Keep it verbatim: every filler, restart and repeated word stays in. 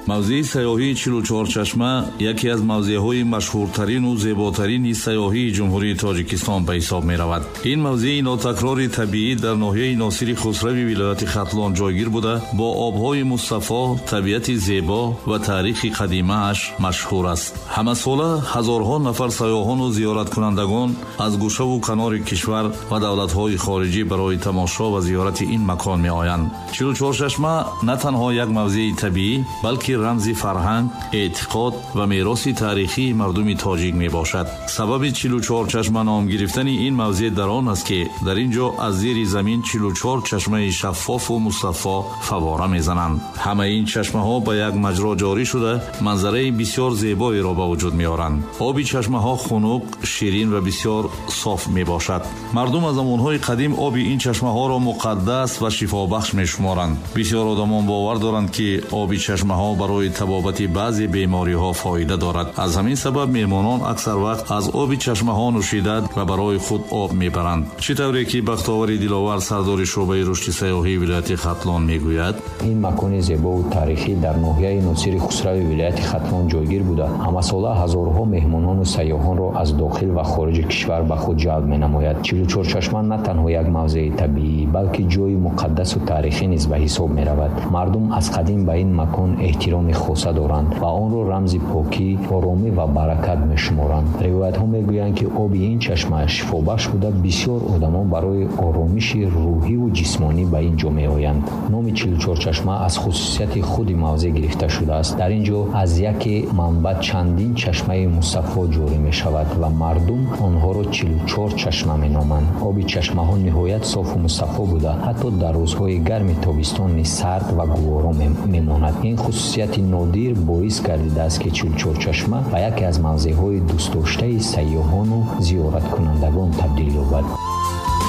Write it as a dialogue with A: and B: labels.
A: Мавзеи сайёҳии Чилу Чор Чашма яке аз мавзеъҳои машҳуртарину зеботарини сайёҳии Ҷумҳурии Тоҷикистон ба ҳисоб меравад. Ин мавзеи нотакрори табиӣ дар ноҳияи Носири Хусрави вилояти Хатлон ҷойгир буда, бо обҳои мусаффо, табиати зебо ва таърихи қадимааш машҳур аст. Ҳамасола ҳазорҳо нафар сайёҳону зиёраткунандагон аз гӯшаву канори кишвар ва давлатҳои хориҷӣ барои тамошо ва зиёрати ин макон меоянд. Чилу Чор Чашма на танҳо як мавзеи табиӣ, балки рамзи фарҳанг, эътиқод ва мероси таърихии мардуми тоҷик мебошад. Сабаби чилу чор чашма ном гирифтани ин мавзеъ дар он аст, ки дар ин ҷо аз зери замин чилу чор чашмаи шаффофу мусаффо фаввора мезананд. Ҳамаи ин чашмаҳо ба як маҷро ҷорӣ шуда, манзараи бисёр зебоеро ба вуҷуд меоранд. Оби чашмаҳо хунук, ширин ва бисёр соф мебошад. Мардум аз замонҳои қадим оби ин чашмаҳоро муқаддас ва шифобахш мешуморанд. Бисёр одамон бовар доранд, ки оби чашмаҳо барои табобати баъзе бемориҳо фоида дорад. Аз ҳамин сабаб меҳмонон аксар вақт аз оби чашмаҳо нӯшида ва барои худ об мебаранд. Чӣ тавре ки Бахтовари Диловар, сардори шӯъбаи рушди сайёҳии вилояти Хатлон, мегӯяд:
B: Ин макони зебову таърихӣ дар ноҳияи Носири Хусрави вилояти Хатлон ҷойгир буда, ҳамасола ҳазорҳо меҳмонону сайёҳонро аз дохил ва хориҷи кишвар ба худ ҷалб менамояд. Чилучорчашма на танҳо як мавзеи табиӣ, балки ҷойи муқаддасу таърихӣ низ ба ҳисоб меравад. Мардум аз қадим ба ин макон эҳтироми хоса доранд ва онро рамзи покӣ, оромӣ ва баракат мешуморанд. Ривоятҳо мегӯянд, ки оби ин чашма шифобахш буда, бисёр одамон барои оромиши рӯҳиву ҷисмонӣ ба ин ҷо меоянд. Номи Чилучорчашма аз хусусияти худи мавзеъ гирифта шудааст. Дар ин ҷо аз яке манбаъ чандин чашмаи мусаффо ҷорӣ мешавад ва мардум онҳоро чилучор чашма меноманд. Оби чашмаҳо ниҳоят софу мусаффо буда, ҳатто дар рӯзҳои гарми тобистон низ сард ва гуворо мемонад. Ин хусусияти нодир боис гардидааст, ки Чилучорчашма ба яке аз мавзеъҳои дӯстдоштаи сайёҳону зиёраткунандагон табдил ёбад.